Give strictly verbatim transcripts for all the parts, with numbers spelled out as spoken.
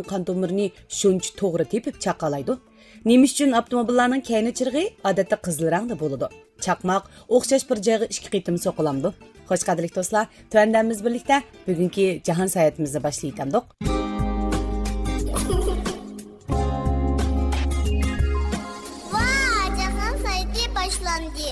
قان تومۇرىنى شۇنچە توغرا تېپىپ چاقالايدۇ؟ نېمە ئۈچۈن ئاپتوموبىللارنىڭ كەينى چىرىغى ئادەتتە قىزىل رەڭدە بولىدۇ؟ چاقماق ئوخشاش بىر جايغا ئىككى قېتىم سوقۇلامدۇ؟ خوش، قەدىرلىك دوستلار، تۆۋەندە بىز بىرلىكتە بۈگۈنكى جاھان ساياھىتىمىزنى باشلىۋېتەمدۇق. ۋا، جاھان ساياھىتى باشلاندى.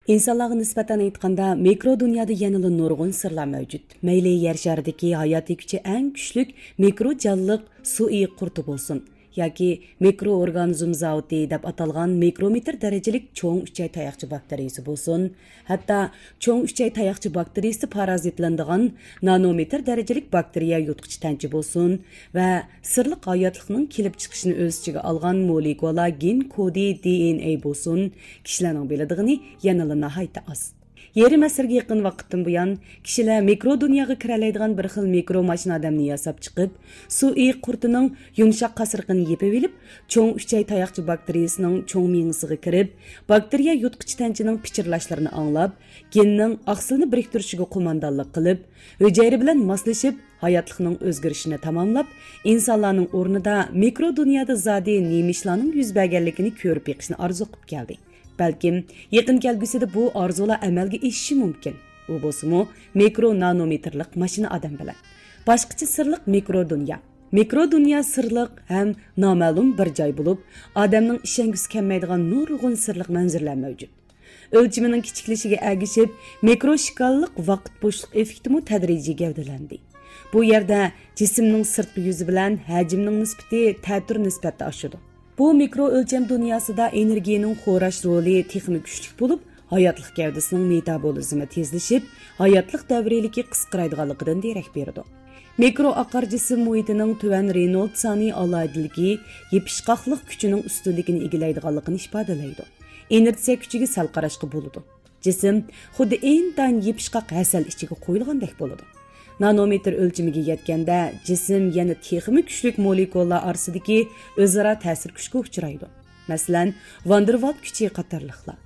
ئىنسانلارغا نىسبەتەن ئېيتقاندا، مىكرو دۇنيادا يەنىلا نۇرغۇن سىرلار مەۋجۇت. مەيلى يەر شارىدىكى ھاياتىي كۈچى ئەڭ كۈچلۈك مىكرو جانلىق سۇ ئېيىق قۇرتى بولسۇن، ياكى مىكرو ئورگانىزم زاۋۇتى دەپ ئاتالغان مىكرومېتىر دەرىجىلىك چوڭ ئۈچەي تاياقچە باكتېرىيىسى بولسۇن، ھەتتا چوڭ ئۈچەي تاياقچە باكتېرىيىسى پارازىتلىنىدىغان نانومېتىر دەرىجىلىك باكتېرىيە يۇتقۇچى تەنچە بولسۇن ۋە سىرلىق ھاياتلىقنىڭ كېلىپ چىقىشىنى ئۆز ئىچىگە ئالغان مولېكۇلا گېن كودى، دى ئېن ئەي بولسۇن، كىشىلەرنىڭ بىلىدىغىنى يەنىلا ناھايىتى ئاز. يېرىم ئەسىرگە يېقىن ۋاقىتتىن بۇيان، كىشىلەر مىكرو دۇنياغا كىرەلەيدىغان بىر خىل مىكرو ماشىنا ئادەمنى ياساپ چىقىپ، سۇ ئېيىق قۇرتىنىڭ يۇمشاق قاسرىقىنى يېپىۋېلىپ، چوڭ ئۈچەي تاياقچە باكتېرىيىسىنىڭ چوڭ مېڭىسىغا كىرىپ، باكتېرىيە يۇتقۇچى تەنچىنىڭ پىچىرلاشلىرىنى ئاڭلاپ، گېننىڭ ئاقسىلنى بىرىكتۈرۈشىگە قوماندانلىق قىلىپ، ھۈجەيرە بىلەن ماسلىشىپ، ھاياتلىقنىڭ ئۆزگىرىشىنى تاماملاپ، ئىنسانلارنىڭ ئورنىدا مىكرو دۇنيادا زادى نېمە ئىشلارنىڭ يۈز بەرگەنلىكىنى كۆرۈپ بېقىشنى ئارزۇ قىلىپ كەلدى. بەلكىم، يېقىن كەلگۈسىدە بۇ ئارزۇلار ئەمەلگە ئېشىشى مۇمكىن. ئۇ بولسىمۇ، مىكرو نانومېتىرلىق ماشىنا ئادەم بىلەن. باشقىچە سىرلىق مىكرو دۇنيا. مىكرو دۇنيا سىرلىق ھەم نامەلۇم بىر جاي بولۇپ، ئادەمنىڭ ئىشەنگۈسى كەلمەيدىغان نۇرغۇن سىرلىق مەنزىرىلەر مەۋجۇت. ئۆلچىمىنىڭ كىچىكلىشىگە ئەگىشىپ، مىكرو ئىشكاللىق ۋاقىت بوشلۇق ئېففېكتىمۇ تەدرىجىي گەۋدىلەندى. بۇ يەردە جىسىمنىڭ سىرتقى يۈزى بىلەن ھەجىمنىڭ نىسبىتى تەتۈر نىسبەتتە ئاشىدۇ. بۇ مىكرو ئۆلچەم دۇنياسىدا ئېنېرگىيىنىڭ خوراش رولى تېخىمۇ كۈچلۈك بولۇپ، ھاياتلىق گەۋدىسىنىڭ مېتابولىزمى تېزلىشىپ، ھاياتلىق دەۋرىيلىكى قىسقىرايدىغانلىقىدىن دېرەك بېرىدۇ. مىكرو ئاقار جىسىم مۇھىتىنىڭ تۆۋەن رېنولد سانى ئالاھىدىلىكى يېپىشقاقلىق كۈچىنىڭ ئۈستۈنلۈكىنى ئىگىلەيدىغانلىقىنى ئىپادىلەيدۇ. ئىنېرتسىيە كۈچىگە سەل قاراشقا بولىدۇ. جىسىم خۇددى ئىنتايىن يېپىشقاق ھەسەل ئىچىگە قويۇلغاندەك بولىدۇ. نانومېتىر ئۆلچىمىگە يەتكەندە، جىسىم يەنە تېخىمۇ كۈچلۈك مولېكۇللار ئارىسىدىكى ئۆزئارا تەسىر كۈچكە ئۇچرايدۇ. مەسىلەن، ۋاندېرۋالت كۈچى قاتارلىقلار.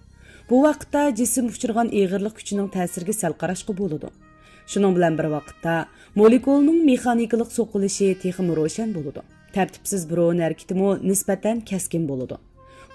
بۇ ۋاقىتتا جىسىم ئۇچرىغان ئېغىرلىق كۈچىنىڭ تەسىرىگە سەل قاراشقا بولىدۇ. شۇنىڭ بىلەن بىر ۋاقىتتا، مولېكۇلنىڭ مېخانىكىلىق سوقۇلۇشى تېخىمۇ روشەن بولىدۇ. تەرتىپسىز بۇرۇن ھەرىكىتىمۇ نىسبەتەن كەسكىن بولىدۇ.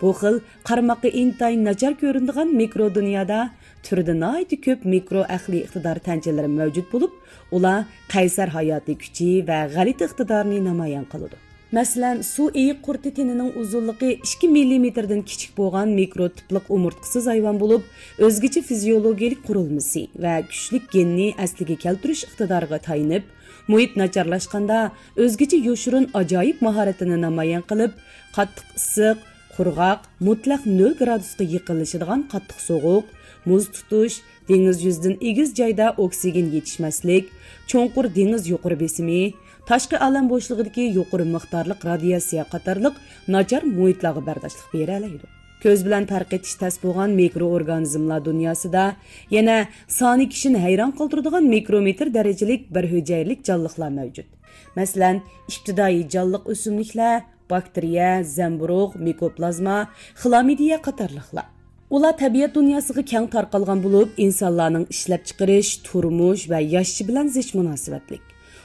بۇ خىل قارىماققا ئىنتايىن ناچار كۆرۈنىدىغان مىكرو دۇنيادا تۈرىدە ناھايىتى كۆپ مىكرو ئەقلىي ئىقتىدار تەنچىلىرى مەۋجۇت بولۇپ، ئۇلار قەيسەر ھاياتىي كۈچى ۋە غەلىتە ئىقتىدارنى نامايان قىلىدۇ. مەسىلەن، سۇ ئېيىق قۇرتى تېنىنىڭ ئۇزۇنلۇقى ئىككى مىللىمېتىردىن كىچىك بولغان مىكرو تىپلىق ئومۇرتقىسىز ھايۋان بولۇپ، ئۆزگىچە فىزىيولوگىيەلىك قۇرۇلمىسى ۋە كۈچلۈك گېننى ئەسلىگە كەلتۈرۈش ئىقتىدارىغا تايىنىپ، مۇھىت ناچارلاشقاندا ئۆزگىچە يوشۇرۇن ئاجايىپ ماھارىتىنى نامايان قىلىپ، قاتتىق ئىسسىق، قۇرغاق، مۇتلەق نۆل گرادۇسقا يېقىنلىشىدىغان قاتتىق سوغۇق، مۇز تۇتۇش، دېڭىز يۈزىدىن ئېگىز جايدا ئوكسىگېن يېتىشمەسلىك، چوڭقۇر دېڭىز يۇقىرى بېسىمى، تاشقى ئالەم بوشلۇقىدىكى يۇقىرى مىقدارلىق رادىياتسىيە قاتارلىق ناچار مۇھىتلارغا بەرداشلىق بېرەلەيدۇ. كۆز بىلەن پەرق ئېتىش تەس بولغان مىكرو ئورگانىزملار دۇنياسىدا يەنە سانى كىشىنى ھەيران قالدۇرىدىغان مىكرومېتىر دەرىجىلىك بىر ھۈجەيرىلىك جانلىقلار مەۋجۇت. مەسىلەن، ئىپتىدائىي جانلىق ئۆسۈملۈكلەر، باكتېرىيە، زەمبۇرۇغ، مىكوپلازما، خلامىدىيە قاتارلىقلار. ئۇلار تەبىئەت دۇنياسىغا كەڭ تارقالغان بولۇپ، ئىنسانلارنىڭ ئىشلەپچىقىرىش، تۇرمۇش ۋە ياشىشى بىلەن زىچ مۇناسىۋەتلىك.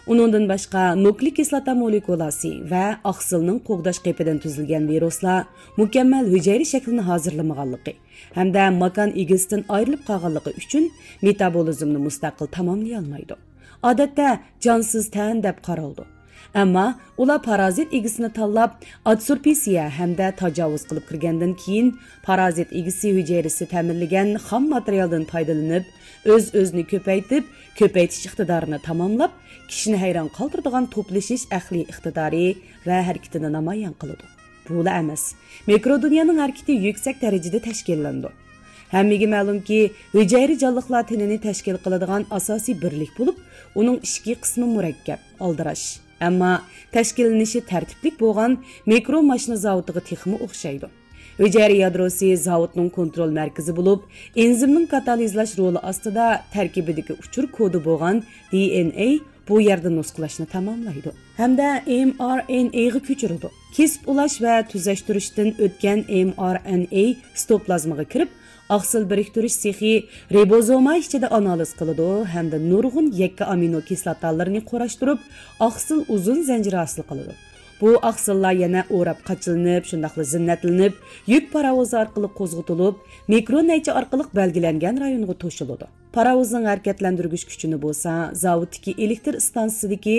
ئۇنىڭدىن باشقا، نۇكلېئىك كىسلاتا مولېكۇلاسى ۋە ئاقسىلنىڭ قوغداش قېپىدىن تۈزۈلگەن ۋىرۇسلار مۇكەممەل ھۈجەيرە شەكلىنى ھازىرلىمىغانلىقى ھەمدە ماكان ئىگىسىدىن ئايرىلىپ قالغانلىقى ئۈچۈن مېتابولىزمنى مۇستەقىل تاماملىيالمايدۇ. ئادەتتە جانسىز تەن دەپ قارىلىدۇ. ئەمما ئۇلار پارازىت ئىگىسىنى تاللاپ، ئادسورپسىيە ھەمدە تاجاۋۇز قىلىپ كىرگەندىن كېيىن، پارازىت ئىگىسى ھۈجەيرىسى تەمىنلىگەن خام ماتېرىيالدىن پايدىلىنىپ، ئۆز-ئۆزىنى كۆپەيتىپ، كۆپەيتىش ئىقتىدارىنى تاماملاپ، كىشىنى ھەيران قالدۇرىدىغان توپلىشىش ئەقلىي ئىقتىدارى ۋە ھەرىكىتىنى نامايان قىلىدۇ. بۇلا ئەمەس، مىكرو دۇنيانىڭ ھەرىكىتى يۈكسەك دەرىجىدە تەشكىللىنىدۇ. ھەممىگە مەلۇمكى، ھۈجەيرە جانلىقلار تېنىنى تەشكىل قىلىدىغان ئاساسىي بىرلىك بولۇپ، ئۇنىڭ ئىچكى قىسمى مۇرەككەپ، ئالدىراش. ئەمما تەشكىللىنىشى تەرتىپلىك بولغان مىكرو ماشىنا زاۋۇتىغا تېخىمۇ ئوخشايدۇ. ھۈجەيرە يادروسى زاۋۇتنىڭ كونترول مەركىزى بولۇپ، ئېنزىمنىڭ كاتالىزلاش رولى ئاستىدا تەركىبىدىكى ئۇچۇر كودى بولغان دى ئېن ئەي بۇ يەردە نۇسخىلاشنى تاماملايدۇ ھەمدە ئېم ئار ئېن ئەيغا كۆچۈرىدۇ. كېسىپ ئۇلاش ۋە تۈزەشتۈرۈشتىن ئۆتكەن ئېم ئار ئېن ئەي سىتوپلازمىغا كىرىپ، ئاقسىل بىرىكتۈرۈش سېخى رىبوزوما ئىچىدە ئانالىز قىلىدۇ ھەمدە نۇرغۇن يەككە ئامىنو كىسلاتالىرىنى قۇراشتۇرۇپ، ئاقسىل ئۇزۇن زەنجىرى ھاسىل قىلىدۇ. بۇ ئاقسىللار يەنە ئوراپ قاچىلىنىپ، شۇنداقلا زىننەتلىنىپ، يۈك پاراۋۇزى ئارقىلىق قوزغىتىلىپ، مىكرو نەيچە ئارقىلىق بەلگىلەنگەن رايونغا توشۇلىدۇ. پاراۋۇزنىڭ ھەرىكەتلەندۈرگۈچ كۈچىنى بولسا زاۋۇتتىكى ئېلېكتر ئىستانسىسىدىكى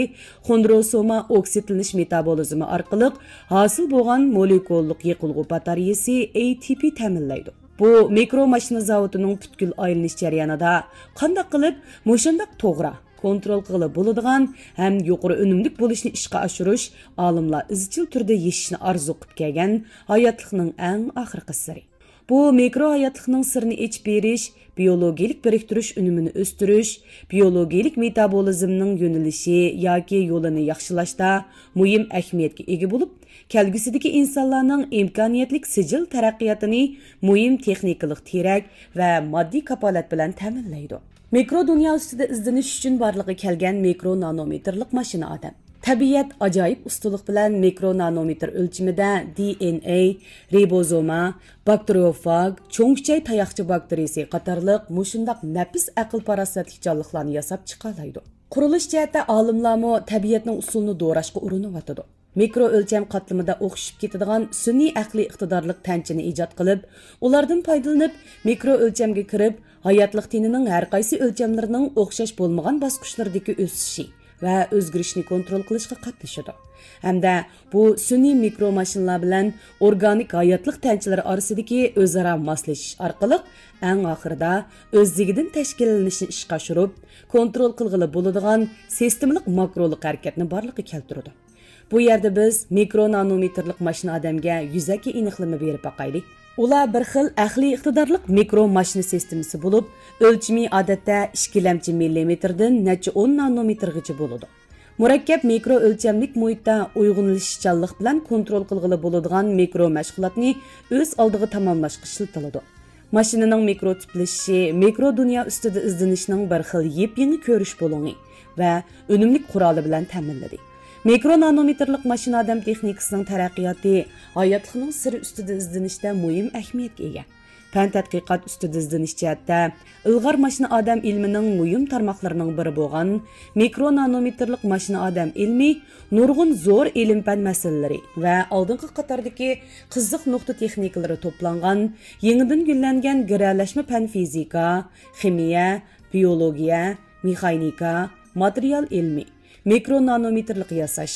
خوندروسوما ئوكسىدلىنىش مېتابولىزمى ئارقىلىق ھاسىل بولغان مولېكۇللۇق يېقىلغۇ باتارېيىسى، ئەي تى پى، تەمىنلەيدۇ. بۇ مىكرو ماشىنا زاۋۇتىنىڭ پۈتكۈل ئايلىنىش جەريانىدا قانداق قىلىپ مۇشۇنداق توغرا، كونترول قىلغىلى بولىدىغان ھەم يۇقىرى ئۈنۈملۈك بولۇشنى ئىشقا ئاشۇرۇش ئالىملار ئىزچىل تۈردە يېشىشنى ئارزۇ قىلىپ كەلگەن ھاياتلىقنىڭ ئەڭ ئاخىرقى سىرى. بۇ مىكرو ھاياتلىقنىڭ سىرىنى ئېچىپ بېرىش، بىيولوگىيىلىك بىرىكتۈرۈش ئۈنۈمىنى ئۆستۈرۈش، بىيولوگىيىلىك مېتابولىزمنىڭ يۆنىلىشى ياكى يولىنى ياخشىلاشتا مۇھىم ئەھمىيەتكە ئىگە بولۇپ، كەلگۈسىدىكى ئىنسانلارنىڭ ئىمكانىيەتلىك سىجىل تەرەققىياتىنى مۇھىم تېخنىكىلىق تىرەك ۋە ماددىي كاپالەت بىلەن تەمىنلەيدۇ. مىكرو دۇنيا ئۈستىدە ئىزدىنىش ئۈچۈن بارلىققا كەلگەن مىكرو نانومېتىرلىق ماشىنا ئادەم. تەبىئەت ئاجايىپ ئۇستىلىق بىلەن مىكرو نانومېتىر ئۆلچىمىدە دى ئېن ئەي، رىبوزوما، باكتېرىيوفاگ، چوڭ ئۈچەي تاياقچە باكتېرىيىسى قاتارلىق مۇشۇنداق نەپىس ئەقىل-پاراسەتلىك جانلىقلارنى ياساپ چىقالايدۇ. قۇرۇلۇش جەھەتتە ئالىملارمۇ تەبىئەتنىڭ ئۇسۇلىنى دوراشقا ئۇرۇنۇۋاتىدۇ. مىكرو ئۆلچەم قاتلىمىدا ئوخشىشىپ كېتىدىغان سۈنئىي ئەقلىي ئىقتىدارلىق تەنچىنى ئىجاد قىلىپ، ئۇلاردىن پايدىلىنىپ، مىكرو ئۆلچەمگە كىرىپ، ھاياتلىق تېنىنىڭ ھەر قايسى ئۆلچەملىرىنىڭ ئوخشاش بولمىغان باسقۇچلىرىدىكى ئۆسۈشى ۋە ئۆزگىرىشىنى كونترول قىلىشقا قاتنىشىدۇ. ھەمدە بۇ سۈنئىي مىكرو ماشىنىلار بىلەن ئورگانىك ھاياتلىق تەنچىلىرى ئارىسىدىكى ئۆزئارا ماسلىشىش ئارقىلىق ئەڭ ئاخىرىدا ئۆزلۈكىدىن تەشكىللىنىشنى ئىشقا ئاشۇرۇپ، كونترول قىلغىلى بولىدىغان سىستېمىلىق ماكرولۇق ھەرىكەتنى بارلىققا كەلتۈرىدۇ. بۇ يەردە بىز مىكرو نانومېتىرلىق ماشىنا ئادەمگە يۈزەكى ئېنىقلىما بېرىپ باقايلى. ئۇلار بىر خىل ئەقلىي ئىقتىدارلىق مىكرو ماشىنا سىستېمىسى بولۇپ، ئۆلچىمى ئادەتتە ئىككىلەمچى مىللىمېتىردىن نەچچە ئون نانومېتىرغىچە بولىدۇ. مۇرەككەپ مىكرو ئۆلچەملىك مۇھىتتا ئۇيغۇنلىشىشچانلىق بىلەن كونترول قىلغىلى بولىدىغان مىكرو مەشغۇلاتنى ئۆز ئالدىغا تاماملاشقا ئىشلىتىلىدۇ. ماشىنىنىڭ مىكرو تىپلىشىشى مىكرو دۇنيا ئۈستىدە ئىزدىنىشنىڭ بىر خىل يېپيېڭى كۆرۈش بۇلۇڭى ۋە ئۈنۈملۈك قورالى بىلەن تەمىنلىدى. مىكرو نانومېتىرلىق ماشىنا ئادەم تېخنىكىسىنىڭ تەرەققىياتى ھاياتلىقنىڭ سىرى ئۈستىدە ئىزدىنىشتە مۇھىم ئەھمىيەتكە ئىگە. پەن تەتقىقات ئۈستىدە ئىزدىنىش جەھەتتە ئىلغار ماشىنا ئادەم ئىلمىنىڭ مۇھىم تارماقلىرىنىڭ بىرى بولغان مىكرو نانومېتىرلىق ماشىنا ئادەم ئىلمى نۇرغۇن زور ئىلىم-پەن مەسىلىلىرى ۋە ئالدىنقى قاتاردىكى قىزىق نۇقتا تېخنىكىلىرى توپلانغان يېڭىدىن گۈللەنگەن گىرەلەشمە پەن فىزىكا، خىمىيە، بىيولوگىيە، مېخانىكا، ماتېرىيال ئىلمى، مىكرو نانومېتىرلىق ياساش،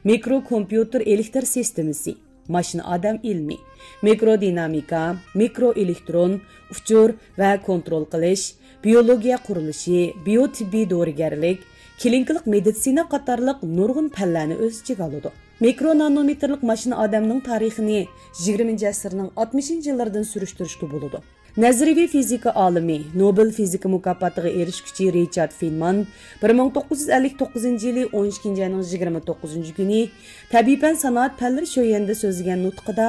مىكرو كومپيۇتېر ئېلېكتر سىستېمىسى، ماشىنا ئادەم ئىلمى، مىكرو دىنامىكا، مىكرو ئېلېكترون، ئۇچۇر ۋە كونترول قىلىش، بىيولوگىيە قۇرۇلۇشى، بىيو تېببىي دورىگەرلىك، كلىنىكىلىق مېدىتسىنا قاتارلىق نۇرغۇن پەنلەرنى ئۆز ئىچىگە ئالىدۇ. مىكرو نانومېتىرلىق ماشىنا ئادەمنىڭ تارىخىنى يىگىرمىنچى ئەسىرنىڭ ئاتمىشىنچى يىللىرىدىن سۈرۈشتۈرۈشكە بولىدۇ. نەزەرىيىۋى فىزىكا ئالىمى، نوبېل فىزىكا مۇكاپاتىغا ئېرىشكۈچى رىچارد فېنمان بىر مىڭ توققۇز يۈز ئەللىك توققۇزىنچى يىلى ئون ئىككىنچى ئاينىڭ يىگىرمە توققۇزىنچى كۈنى تەبىئىي پەن سانائەت پەنلىرى شۆيۈەنىدە سۆزلىگەن نۇتقىدا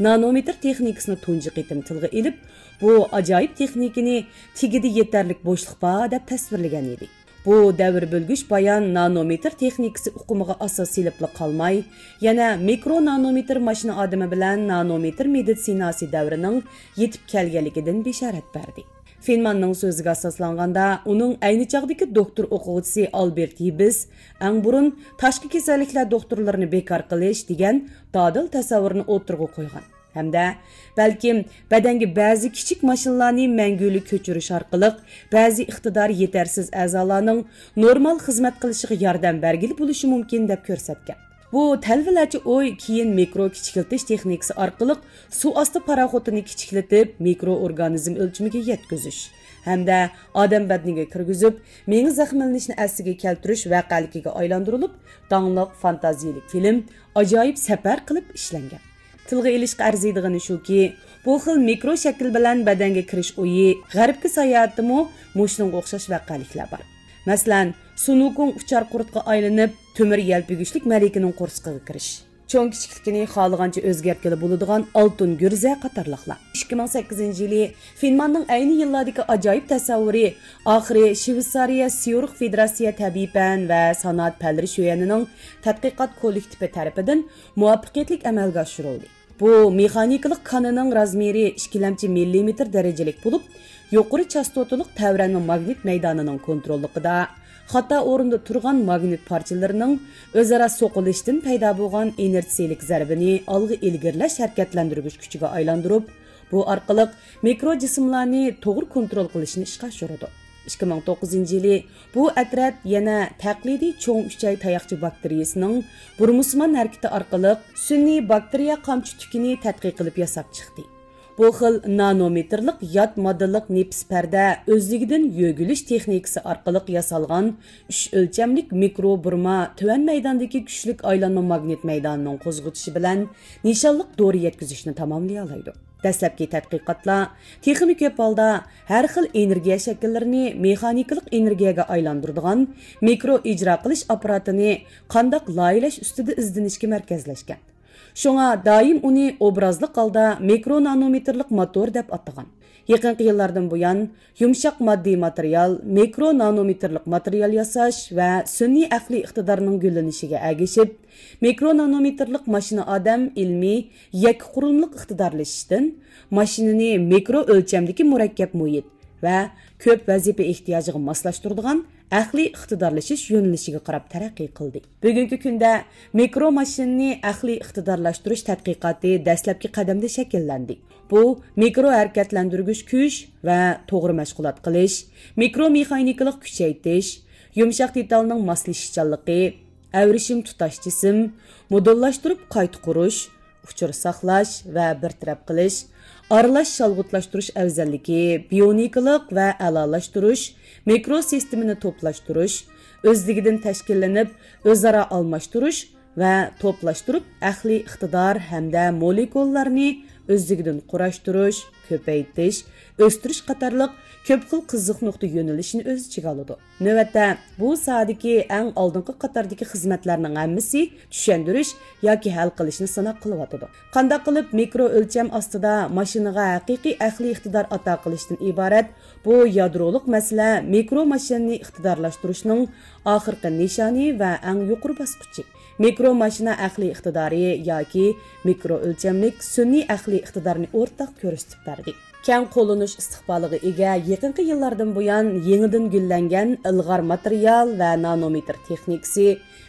نانومېتىر تېخنىكىسىنى تۇنجى قېتىم تىلغا ئېلىپ، بۇ ئاجايىپ تېخنىكىنى تېگىدە يېتەرلىك بوشلۇق بار دەپ تەسۋىرلىگەن ئىدى. بۇ دەۋر بۆلگۈچ بايان نانومېتىر تېخنىكىسى ئۇقۇمىغا ئاساس سېلىپلا قالماي، يەنە مىكرو نانومېتىر ماشىنا ئادىمى بىلەن نانومېتىر مېدىتسىناسى دەۋرىنىڭ يېتىپ كەلگەنلىكىدىن بېشارەت بەردى. فېنماننىڭ سۆزىگە ئاساسلانغاندا، ئۇنىڭ ئەينى چاغدىكى دوكتور ئوقۇغۇچىسى ئالبېرت يىبس ئەڭ بۇرۇن تاشقى كېسەللىكلەر دوختۇرلىرىنى بىكار قىلىش دېگەن دادىل تەسەۋۋۇرنى ئوتتۇرىغا قويغان. ھەمدە بەلكىم بەدەنگە بەزى كىچىك ماشىنىلارنى مەڭگۈلۈك كۆچۈرۈش ئارقىلىق بەزى ئىقتىدارى يېتەرسىز ئەزالارنىڭ نورمال خىزمەت قىلىشىغا ياردەم بەرگىلى بولۇشى مۇمكىن دەپ كۆرسەتكەن. بۇ تەلۋىلەرچە ئوي كېيىن مىكرو كىچىكلىتىش تېخنىكىسى ئارقىلىق سۇ ئاستى پاراخوتىنى كىچىكلىتىپ، مىكرو ئورگانىزم ئۆلچىمىگە يەتكۈزۈش ھەمدە ئادەم بەدىنىگە كىرگۈزۈپ، مېڭە زەخىملىنىشنى ئەسلىگە كەلتۈرۈش ۋەقەلىكىگە ئايلاندۇرۇلۇپ، داڭلىق فانتازىيىلىك فىلىم ئاجايىپ سەپەر قىلىپ ئىشلەنگەن. تىلغا ئېلىشقا ئەرزىيدىغىنى شۇكى، بۇ خىل مىكرو شەكىل بىلەن بەدەنگە كىرىش ئويى غەربكە ساياھەتتىمۇ مۇشۇنىڭغا ئوخشاش ۋەقەلىكلەر بار. مەسىلەن، سۇنۇكۇڭ ئۇچار قۇرتقا ئايلىنىپ، تۆمۈر يەلپۈگۈچلۈك مەلىكىنىڭ قورسىقىغا كىرىش. چوڭ كىچىكلىكىنى خالىغانچە ئۆزگەرتكىلى بولىدىغان ئالتۇن گۈرزە قاتارلىقلار. ئىككى مىڭ سەككىزىنچى يىلى فېنماننىڭ ئەينى يىللاردىكى ئاجايىپ تەسەۋۋۇرى ئاخىرى شۋېتسارىيە سيۇرخ فېدېراتسىيە تەبىئىي پەن ۋە سانائەت پەنلىرى شۆيەنىنىڭ تەتقىقات كوللېكتىپى تەرىپىدىن مۇۋەپپەقىيەتلىك ئەمەلگە ئاشۇرۇلدى. بۇ مېخانىكىلىق كانىنىڭ رازمېرى ئىككىلەمچى مىللىمېتىر دەرىجىلىك بولۇپ، يۇقىرى چاستوتىلىق تەۋرەنمە ماگنىت مەيدانىنىڭ كونتروللۇقىدا. خاتا ئورۇندا تۇرغان ماگنىت پارچىلىرىنىڭ ئۆزئارا سوقۇلۇشتىن پەيدا بولغان ئىنېرتسىيىلىك زەربىنى ئالغا ئىلگىرىلەش ھەرىكەتلەندۈرگۈچ كۈچىگە ئايلاندۇرۇپ، بۇ ئارقىلىق مىكرو جىسىملارنى توغرا كونترول قىلىشنى ئىشقا ئاشۇرىدۇ. ئىككى مىڭ توققۇزىنچى يىلى بۇ ئەترەت يەنە تەقلىدىي چوڭ ئۈچەي تاياقچە باكتېرىيىسىنىڭ بۇرمىسىمان ھەرىكىتى ئارقىلىق سۈنئىي باكتېرىيە قامچا تۈكىنى تەتقىق قىلىپ ياساپ چىقتى. بۇ خىل نانومېتىرلىق يات ماددىلىق نېپىز پەردە ئۆزلۈكىدىن يۆگىلىش تېخنىكىسى ئارقىلىق ياسالغان ئۈچ ئۆلچەملىك مىكرو بۇرما تۆۋەن مەيداندىكى كۈچلۈك ئايلانما ماگنىت مەيدانىنىڭ قوزغىتىشى بىلەن نىشانلىق دورا يەتكۈزۈشنى تاماملىيالايدۇ. دەسلەپكى تەتقىقاتلار تېخىمۇ كۆپ ھالدا ھەر خىل ئېنېرگىيە شەكىللىرىنى مېخانىكىلىق ئېنېرگىيەگە ئايلاندۇرىدىغان مىكرو ئىجرا قىلىش ئاپپاراتىنى قانداق لايىھەلەش ئۈستىدە ئىزدىنىشكە مەركەزلەشكەن. شۇڭا دائىم ئۇنى ئوبرازلىق ھالدا مىكرو نانومېتىرلىق موتور دەپ ئاتىغان. يېقىنقى يىللاردىن بۇيان، يۇمشاق ماددىي ماتېرىيال، مىكرو نانومېتىرلىق ماتېرىيال ياساش ۋە سۈنئىي ئەقلىي ئىقتىدارنىڭ گۈللىنىشىگە ئەگىشىپ، مىكرو نانومېتىرلىق ماشىنا ئادەم ئىلمىي يەككە قۇرۇلمىلىق ئىقتىدارلىشىشتىن ماشىنىنى مىكرو ئۆلچەمدىكى مۇرەككەپ مۇھىت ۋە كۆپ ۋەزىپە ئېھتىياجىغا ماسلاشتۇرىدىغان ئەقلىي ئىقتىدارلىشىش يۆنىلىشىگە قاراپ تەرەققىي قىلدى. بۈگۈنكى كۈندە مىكرو ماشىنىنى ئەقلىي ئىقتىدارلاشتۇرۇش تەتقىقاتى دەسلەپكى قەدەمدە شەكىللەندى. بۇ مىكرو ھەرىكەتلەندۈرگۈچ كۈچ ۋە توغرا مەشغۇلات قىلىش، مىكرو مېخانىكىلىق كۈچەيتىش، يۇمشاق دېتالنىڭ ماسلىشىشچانلىقى، ئەۋرىشىم تۇتاش جىسىم، مودېللاشتۇرۇپ قايتا قۇرۇش، ئۇچۇر ساقلاش ۋە بىر تەرەپ قىلىش، ئارىلاش شالغۇتلاشتۇرۇش ئەۋزەللىكى، بىيونىكىلىق ۋە ئەلالاشتۇرۇش، مىكرو سىستېمىنى توپلاشتۇرۇش، ئۆزلۈكىدىن تەشكىللىنىپ، ئۆزئارا ئالماشتۇرۇش، ۋە توپلاشتۇرۇپ، ئەقلىي ئىقتىدار ھەمدە مولېكۇللارنى ئۆزلۈكىدىن قۇراشتۇرۇش، كۆپەيتىش، ئۆستۈرۈش قاتارلىق كۆپ خىل قىزىق نۇقتا يۆنىلىشىنى ئۆز ئىچىگە ئالىدۇ. نۆۋەتتە، بۇ ساھەدىكى ئەڭ ئالدىنقى قاتاردىكى خىزمەتلەرنىڭ ھەممىسى چۈشەندۈرۈش ياكى ھەل قىلىشنى سىناق قىلىۋاتىدۇ. قانداق قىلىپ مىكرو ئۆلچەم ئاستىدا ماشىنىغا ھەقىقىي ئەقلىي ئىقتىدار ئاتا قىلىشتىن ئىبارەت بۇ يادرولۇق مەسىلە مىكرو ماشىنىنى ئىقتىدارلاشتۇرۇشنىڭ ئاخىرقى نىشانى ۋە ئەڭ يۇقىرى باسقۇچى. مىكرو ماشىنا ئەقلىي ئىقتىدارى ياكى مىكرو ئۆلچەملىك سۈنئىي ئەقلىي ئىقتىدارنى ئورتاق كۆرسىتىپ بەردى. كەڭ قوللىنىش ئىستىقبالىغا ئىگە يېقىنقى يىللاردىن بۇيان يېڭىدىن گۈللەنگەن ئىلغار ماتېرىيال ۋە نانومېتىر تېخنىكىسى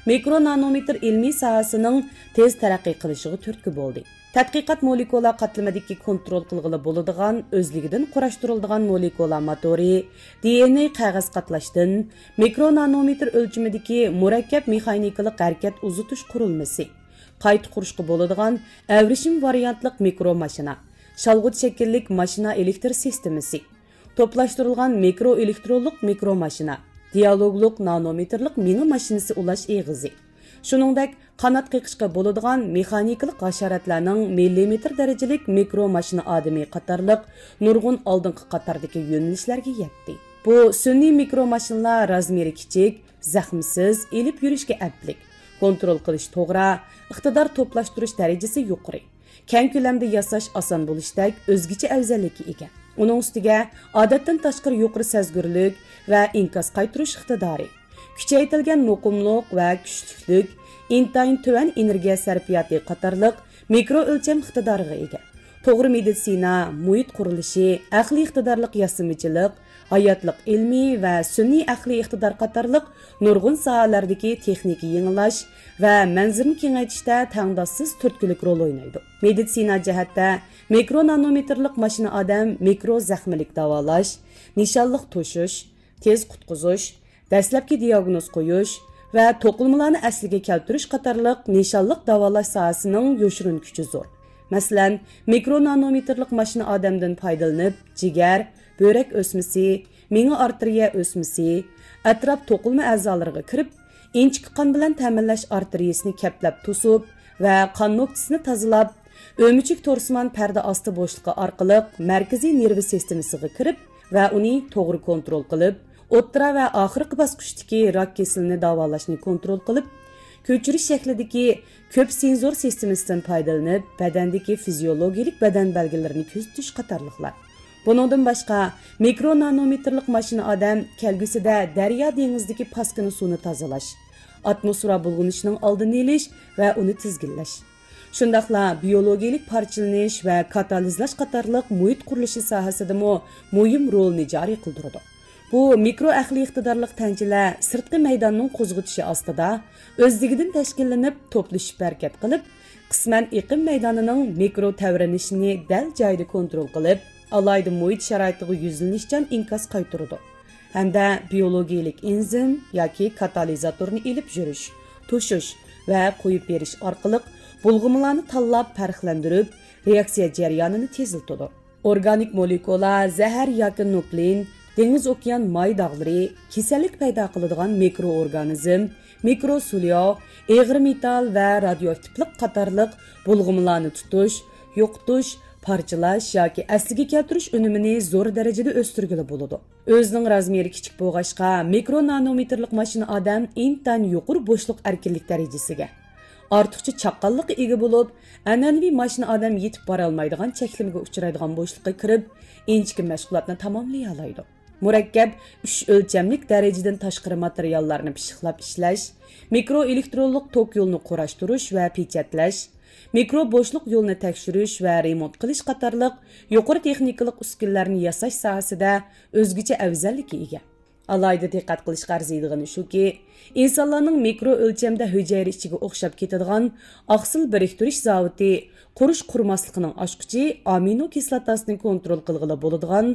مىكرو نانومېتىر ئىلمىي ساھەسىنىڭ تېز تەرەققىي قىلىشىغا تۈرتكە بولدى. تەتقىقات مولېكۇلا قاتلىمىدىكى كونترول قىلغىلى بولىدىغان، ئۆزلۈكىدىن قۇراشتۇرۇلىدىغان مولېكۇلا موتورى، دى ئېن ئېي قەغەز قاتلاشتىن، مىكرو نانومېتىر ئۆلچىمىدىكى مۇرەككەپ مېخانىكىلىق ھەرىكەت ئۇزىتىش قۇرۇلمىسى، قايتا قۇرۇشقا بولىدىغان ئەۋرىشىم ۋارىيانتلىق مىكرو ماشىنا، شالغۇت شەكىللىك ماشىنا ئېلېكتر سىستېمىسى، توپلاشتۇرۇلغان مىكرو ئېلېكترونلۇق مىكرو ماشىنا، دىئالوگلۇق نانومېتىرلىق مېڭە ماشىنىسى ئۇلاش ئېغىزى، شۇنىڭدەك قانات قېقىشقا بولىدىغان مېخانىكىلىق ھاشاراتلارنىڭ مىللىمېتىر دەرىجىلىك مىكرو ماشىنا ئادىمى قاتارلىق نۇرغۇن ئالدىنقى قاتاردىكى يۆنىلىشلەرگە يەتتى. بۇ سۈنئىي مىكرو ماشىنىلار رازمېرى كىچىك، زەخمىسىز، ئېلىپ يۈرۈشكە ئەپلىك، كونترول قىلىش توغرا، ئىقتىدار توپلاشتۇرۇش دەرىجىسى يۇقىرى، كەڭ كۆلەمدە ياساش ئاسان بولۇشتەك ئۆزگىچە ئەۋزەللىككە ئىگە. ئۇنىڭ ئۈستىگە ئادەتتىن تاشقىرى يۇقىرى سەزگۈرلۈك ۋە ئىنكاس قايتۇرۇش ئىقتىدارى، كۈچەيتىلگەن مۇقىملىق ۋە كۈچلۈكلۈك، ئىنتايىن تۆۋەن ئېنېرگىيە سەرپىياتى قاتارلىق مىكرو ئۆلچەم ئىقتىدارىغا ئىگە. توغرا مېدىتسىنا، مۇھىت قۇرۇلۇشى، ئەقلىي ئىقتىدارلىق ياسىمىچىلىق، ھاياتلىق ئىلمى ۋە سۈنئىي ئەقلىي ئىقتىدار قاتارلىق نۇرغۇن ساھەلەردىكى تېخنىكا يېڭىلاش ۋە مەنزىرىنى كېڭەيتىشتە تەڭداشسىز تۈرتكىلىك رول ئوينايدۇ. مېدىتسىنا جەھەتتە مىكرو نانومېتىرلىق ماشىنا ئادەم مىكرو زەخمىلىك داۋالاش، نىشانلىق توشۇش، تېز قۇتقۇزۇش، دەسلەپكى دىياگنوز قويۇش ۋە توقۇلمىلارنى ئەسلىگە كەلتۈرۈش قاتارلىق نىشانلىق داۋالاش ساھەسىنىڭ يوشۇرۇن كۈچى زور. مەسىلەن، مىكرو نانومېتىرلىق ماشىنا ئادەمدىن پايدىلىنىپ، جىگەر، بۆرەك ئۆسمىسى، مېڭە ئارتېرىيە ئۆسمىسى، ئەتراپ توقۇلما ئەزالىرىغا كىرىپ، ئىنچىكە قان بىلەن تەمىنلەش ئارتېرىيىسىنى كەپلەپ توسۇپ ۋە قان نۆكتىسىنى تازىلاپ، ئۆمۈچۈك تورسىمان پەردە ئاستى بوشلۇقى ئارقىلىق مەركىزىي نېرۋا سىستېمىسىغا كىرىپ ۋە ئۇنى توغرا كونترول قىلىپ، ئوتتۇرا ۋە ئاخىرقى باسقۇچتىكى راك كېسىلىنى داۋالاشنى كونترول قىلىپ، كۆچۈرۈش شەكلىدىكى كۆپ سېنزور سىستېمىسىدىن پايدىلىنىپ، بەدەندىكى فىزىيولوگىيىلىك بەدەن بەلگىلىرىنى كۆزىتىش قاتارلىقلار. بۇنىڭدىن باشقا، مىكرو نانومېتىرلىق ماشىنا ئادەم كەلگۈسىدە دەريا دېڭىزدىكى پاسكىنا سۇنى تازىلاش، ئاتموسفېرا بۇلغىنىشىنىڭ ئالدىنى ئېلىش ۋە ئۇنى تىزگىنلەش، شۇنداقلا بىيولوگىيىلىك پارچىلىنىش ۋە كاتالىزلاش قاتارلىق مۇھىت قۇرۇلۇشى ساھەسىدىمۇ مۇھىم رولنى جارى قىلدۇرىدۇ. بۇ مىكرو ئەقلىي ئىقتىدارلىق تەنچىلەر سىرتقى مەيداننىڭ قوزغىتىشى ئاستىدا ئۆزلۈكىدىن تەشكىللىنىپ، توپلىشىپ ھەرىكەت قىلىپ، قىسمەن ئېقىم مەيدانىنىڭ مىكرو تەۋرىنىشىنى دەل جايىدا كونترول قىلىپ، ئالاھىدە مۇھىت شارائىتىغا يۈزلىنىشچان ئىنكاس قايتۇرىدۇ ھەمدە بىيولوگىيىلىك ئېنزىم ياكى كاتالىزاتورنى ئېلىپ يۈرۈش، توشۇش ۋە قويۇپ بېرىش ئارقىلىق بۇلغىمىلارنى تاللاپ پەرقلەندۈرۈپ، رېئاكسىيە جەريانىنى تېزلىتىدۇ. ئورگانىك مولېكۇلا، زەھەر ياكى نۇكلېئىن، دېڭىز ئوكيان ماي داغلىرى، كېسەللىك پەيدا قىلىدىغان مىكرو ئورگانىزم، مىكرو سۇلياۋ، ئېغىر مېتال ۋە رادىيوئاكتىپلىق قاتارلىق بۇلغىمىلارنى تۇتۇش، يوقىتىش، پارچىلاش ياكى ئەسلىگە كەلتۈرۈش ئۈنۈمىنى زور دەرىجىدە ئۆستۈرگىلى بولىدۇ. ئۆزىنىڭ رازمېرى كىچىك بولغاچقا، مىكرو نانومېتىرلىق ماشىنا ئادەم ئىنتايىن يۇقىرى بوشلۇق ئەركىنلىك دەرىجىسىگە، ئارتۇقچە چاققانلىققا ئىگە بولۇپ، ئەنئەنىۋى ماشىنا ئادەم يېتىپ بارالمايدىغان چەكلىمىگە ئۇچرايدىغان بوشلۇققا كىرىپ، ئىنچىكە مەشغۇلاتنى تاماملىيالايدۇ. مۇرەككەپ ئۈچ ئۆلچەملىك دەرىجىدىن تاشقىرى ماتېرىياللارنى پىششىقلاپ ئىشلەش، مىكرو ئېلېكترونلۇق توك يولىنى قۇراشتۇرۇش ۋە پېچەتلەش، مىكرو بوشلۇق يولىنى تەكشۈرۈش ۋە رېمونت قىلىش قاتارلىق يۇقىرى تېخنىكىلىق ئۈسكۈنىلەرنى ياساش ساھەسىدە ئۆزگىچە ئەۋزەللىككە ئىگە. ئالاھىدە دىققەت قىلىشقا ئەرزىيدىغىنى شۇكى، ئىنسانلارنىڭ مىكرو ئۆلچەمدە ھۈجەيرە ئىچىگە ئوخشاپ كېتىدىغان ئاقسىل بىرىكتۈرۈش زاۋۇتى قۇرۇش قۇرماسلىقىنىڭ ئاچقۇچى ئامىنو كىسلاتاسىنى كونترول قىلغىلى بولىدىغان،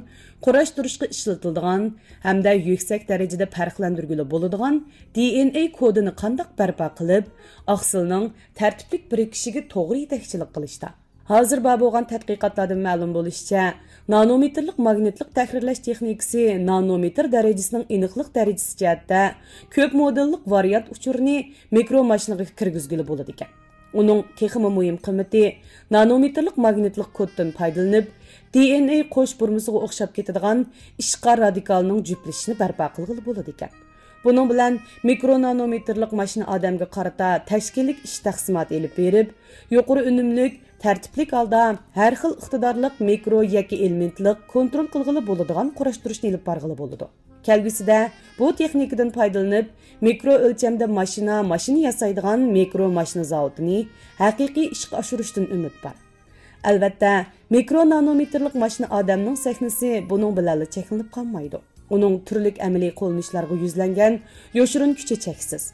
قۇراشتۇرۇشقا ئىشلىتىلىدىغان ھەمدە يۈكسەك دەرىجىدە پەرقلەندۈرگىلى بولىدىغان دى ئېن ئەي كودىنى قانداق بەرپا قىلىپ، ئاقسىلنىڭ تەرتىپلىك بىرىكىشىگە توغرا يېتەكچىلىك قىلىشتا. ھازىر بار بولغان تەتقىقاتلاردىن مەلۇم بولۇشىچە، نانومېتىرلىق ماگنىتلىق تەھرىرلەش تېخنىكىسى نانومېتىر دەرىجىسىنىڭ ئېنىقلىق دەرىجىسى جەھەتتە كۆپ مودېللىق ۋارىيانت ئۇچۇرىنى مىكرو ماشىنىغا كىرگۈزگىلى بولىدىكەن. ئۇنىڭ تېخىمۇ مۇھىم قىممىتى نانومېتىرلىق ماگنىتلىق كودتىن پايدىلىنىپ، دى ئېن ئەي قوش بۇرمىسىغا ئوخشاپ كېتىدىغان ئىشقار رادىكالنىڭ جۈپلىشىشىنى بەرپا قىلغىلى بولىدىكەن. بۇنىڭ بىلەن مىكرو نانومېتىرلىق ماشىنا ئادەمگە قارىتا تەشكىللىك ئىش تەقسىماتى ئېلىپ بېرىپ، يۇقىرى ئۈنۈملۈك، تەرتىپلىك ھالدا ھەر خىل ئىقتىدارلىق مىكرو ياكى ئېلېمېنتلىق كونترول قىلغىلى بولىدىغان قۇراشتۇرۇشنى ئېلىپ بارغىلى بولىدۇ. كەلگۈسىدە بۇ تېخنىكىدىن پايدىلىنىپ، مىكرو ئۆلچەمدە ماشىنا، ماشىنا ياسايدىغان مىكرو ماشىنا زاۋۇتىنى ھەقىقىي ئىشقا ئاشۇرۇشتىن ئۈمىد بار. ئەلۋەتتە، مىكرو نانومېتىرلىق ماشىنا ئادەمنىڭ سەھنىسى بۇنىڭ بىلەنلا چەكلىنىپ قالمايدۇ. ئۇنىڭ تۈرلۈك ئەمەلىي قوللىنىشلارغا يۈزلەنگەن يوشۇرۇن كۈچى چەكسىز.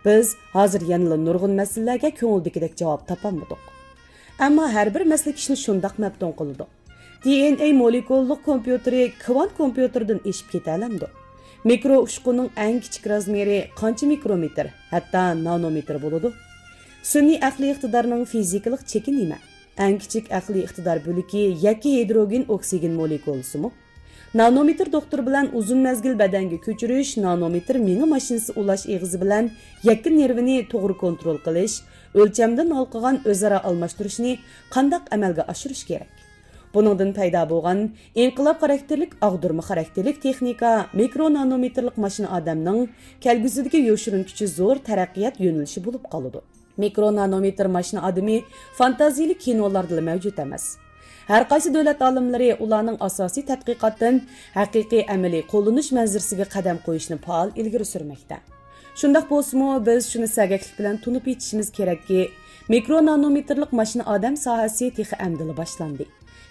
بىز ھازىر يەنىلا نۇرغۇن مەسىلىلەرگە كۆڭۈلدىكىدەك جاۋاب تاپالمىدۇق. ئەمما ھەر بىر مەسىلە كىشىنى شۇنداق مەپتۇن قىلىدۇ. دى ئېن ئەي مولېكۇللۇق كومپيۇتېرى كۋانت كومپيۇتېرىدىن ئېشىپ كېتەلەمدۇ؟ مىكرو ئۇچقۇننىڭ ئەڭ كىچىك رازمېرى قانچە مىكرومېتىر، ھەتتا نانومېتىر بولىدۇ؟ سۈنئىي ئەقلىي ئىقتىدارنىڭ فىزىكىلىق چېكى نېمە؟ ئەڭ كىچىك ئەقلىي ئىقتىدار بۆلىكى يەككە ھىدروگېن ئوكسىگېن مولېكۇلىسىمۇ؟ نانومېتىر دوختۇر بىلەن ئۇزۇن مەزگىل بەدەنگە كۆچۈرۈش، نانومېتىر مېڭە ماشىنىسى ئۇلاش ئېغىزى بىلەن يەككە نېرۋىنى توغرا كونترول قىلىش، ئۆلچەمدىن ھالقىغان ئۆزئارا ئالماشتۇرۇشنى قانداق ئەمەلگە ئاشۇرۇش كېرەك؟ بۇنىڭدىن پەيدا بولغان ئىنقىلاب خاراكتېرلىك، ئاغدۇرما خاراكتېرلىك تېخنىكا، مىكرو نانومېتىرلىق ماشىنا ئادەمنىڭ كەلگۈسىدىكى يوشۇرۇن كۈچى زور تەرەققىيات يۆنىلىشى بولۇپ قالىدۇ. مىكرو نانومېتىر ماشىنا ئادىمى فانتازىيىلىك كىنولاردىلا مەۋجۇت ئەمەس. ھەر قايسى دۆلەت ئالىملىرى ئۇلارنىڭ ئاساسىي تەتقىقاتتىن ھەقىقىي ئەمەلىي قوللىنىش مەنزىرىسىگە قەدەم قويۇشنى پائال ئىلگىرى سۈرمەكتە. شۇنداق بولسىمۇ، بىز شۇنى سەگەكلىك بىلەن تونۇپ يېتىشىمىز كېرەككى، مىكرو نانومېتىرلىق ماشىنا ئادەم ساھەسى تېخى ئەمدىلا باشلاندى.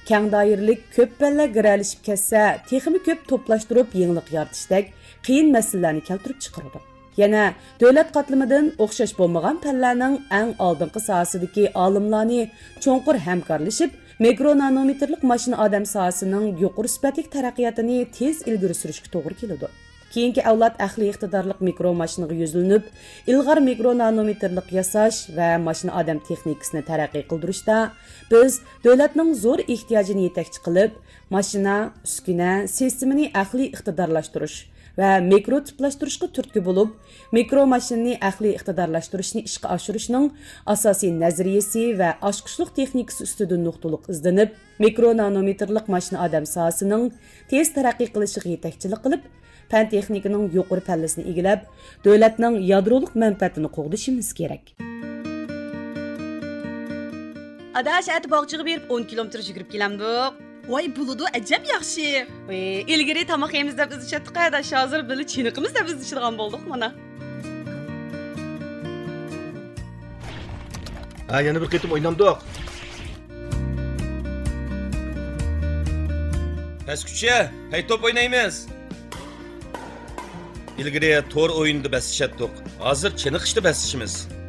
كەڭ دائىرىلىك، كۆپ پەنلەر گىرەلىشىپ كەتسە، تېخىمۇ كۆپ توپلاشتۇرۇپ يېڭىلىق يارىتىشتەك قىيىن مەسىلىلەرنى كەلتۈرۈپ چىقىرىدۇ. يەنە دۆلەت قاتلىمىدىن ئوخشاش بولمىغان پەنلەرنىڭ ئەڭ ئالدىنقى ساھەسىدىكى ئالىملارنى چوڭقۇر ھەمكارلىشىپ، مىكرو نانومېتىرلىق ماشىنا ئادەم ساھەسىنىڭ يۇقىرى سۈپەتلىك تەرەققىياتىنى تېز ئىلگىرى سۈرۈشكە توغرا كېلىدۇ. كېيىنكى ئەۋلاد ئەقلىي ئىقتىدارلىق مىكرو ماشىنىغا يۈزلىنىپ، ئىلغار مىكرو نانومېتىرلىق ياساش ۋە ماشىنا ئادەم تېخنىكىسىنى تەرەققىي قىلدۇرۇشتا، بىز دۆلەتنىڭ زور ئېھتىياجىنى يېتەكچى قىلىپ، ماشىنا، ئۈسكۈنە، سىستېمىنى ئەقلىي ئىقتىدارلاشتۇرۇش ۋە مىكرو تىپلاشتۇرۇشقا تۈرتكە بولۇپ، مىكرو ماشىنىنى ئەقلىي ئىقتىدارلاشتۇرۇشنى ئىشقا ئاشۇرۇشنىڭ ئاساسىي نەزەرىيىسى ۋە ئاچقۇچلۇق تېخنىكىسى ئۈستىدىن نۇقتىلىق ئىزدىنىپ، مىكرو نانومېتىرلىق ماشىنا ئادەم ساھەسىنىڭ تېز تەرەققىي قىلىشىغا يېتەكچىلىك قىلىپ، پەن تېخنىكىنىڭ يۇقىرى پەللىسىنى ئىگىلەپ، دۆلەتنىڭ يادرولۇق مەنپەئەتىنى قوغدىشىمىز كېرەك. ئاداش، ئەتە باغچىغا بېرىپ ئون كىلومېتىر يۈگۈرۈپ كېلەمدۇق؟ ۋاي، بولىدۇ، ئەجەب ياخشى. ۋىي، ئىلگىرى تاماق يەيمىز دەپ ئىزدىشەتتۇق ئاداش، ھازىر بىللە چېنىقىمىز دەپ ئىزدىشىدىغان بولدۇق مانا. ھە، يەنە بىر قېتىم ئوينامدۇق؟ بەسكۈچە، پەي توپ ئوينايمىز. ئىلگىرى تور ئويۇنىدا بەسلىشەتتۇق. ھازىر چېنىقىشتا بەسلىشىمىز.